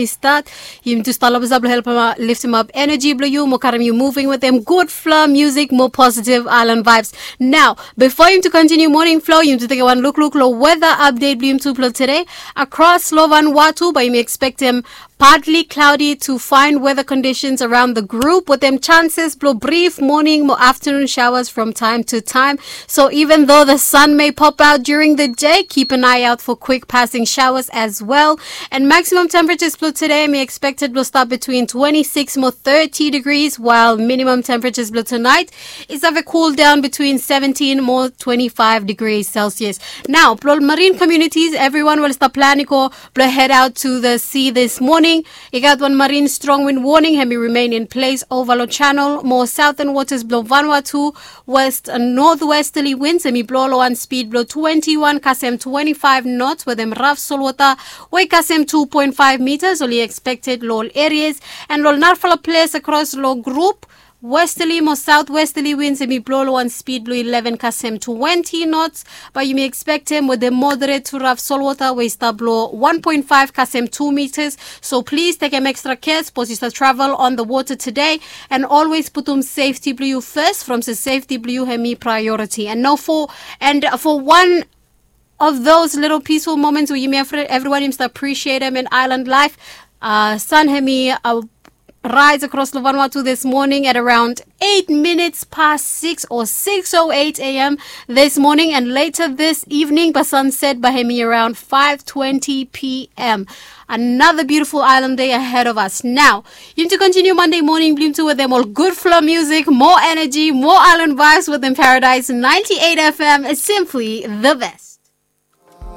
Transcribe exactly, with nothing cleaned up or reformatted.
i stat. Yumi tu stap long basa blong helpim liftim ap eneji blong yu mo karim yu moving wetem gudfala musik mo positive island vibes. Nao, bifo yumi tu kontiniu morning flow, yumi tu tekem wan lukluk long weather update blong yumi tu blong today. Across long Vanuatu, bae yumi expectim partly cloudy to fine weather conditions around the group, wetem chances blong brief morning mo afternoon showers from time to time. So even though the sun may pop out during the day, keep an eye out for quick passing showers as well. And maximum temperatures blong today hemi expected blong stap between twenty-six mo thirty degrees, while minimum temperatures blong tonight is have a cool down between seventeen mo twenty-five degrees Celsius. Nao, blong marine communities, everyone we oli stap plan i go blong head out to the sea this morning. I gat wan marine strong wind warning, hemi remain in place ova long channel mo southern waters blong Vanuatu. West and northwesterly winds hemi blo long wan speed blong twenty-one kasem twenty-five knots wetem raf solwota we i kasem two point five meters oli expected long ol areas. And long narafala ples across long group, westerly mo southwesterly winds hemi blo long wan speed blong eleven kasem twenty knots. Bae yumi expectem wetem moderate to raf solwota we i stap long one point five kasem two meters. So plis tekem extra care sapos yu stap travel on the water today. And always putum safety blong yu first, from se safety blong yu hemi priority. And no for and for one of those little peaceful moments we yumi evri- everyone yumi stap appreciatem in island life. Uh, sun hemi uh, rise across long Vanuatu this morning at around eight minutes past six, or six oh eight a.m. this morning, and later this evening bae sunset bae hemi around five twenty p.m. Another beautiful island day ahead of us. Nao, yumi tu kontiniu Monday morning blong yumi tu wetem ol gudfala musik, mo eneji, mo island vibes wetem Paradise ninety-eight F M, simply the best.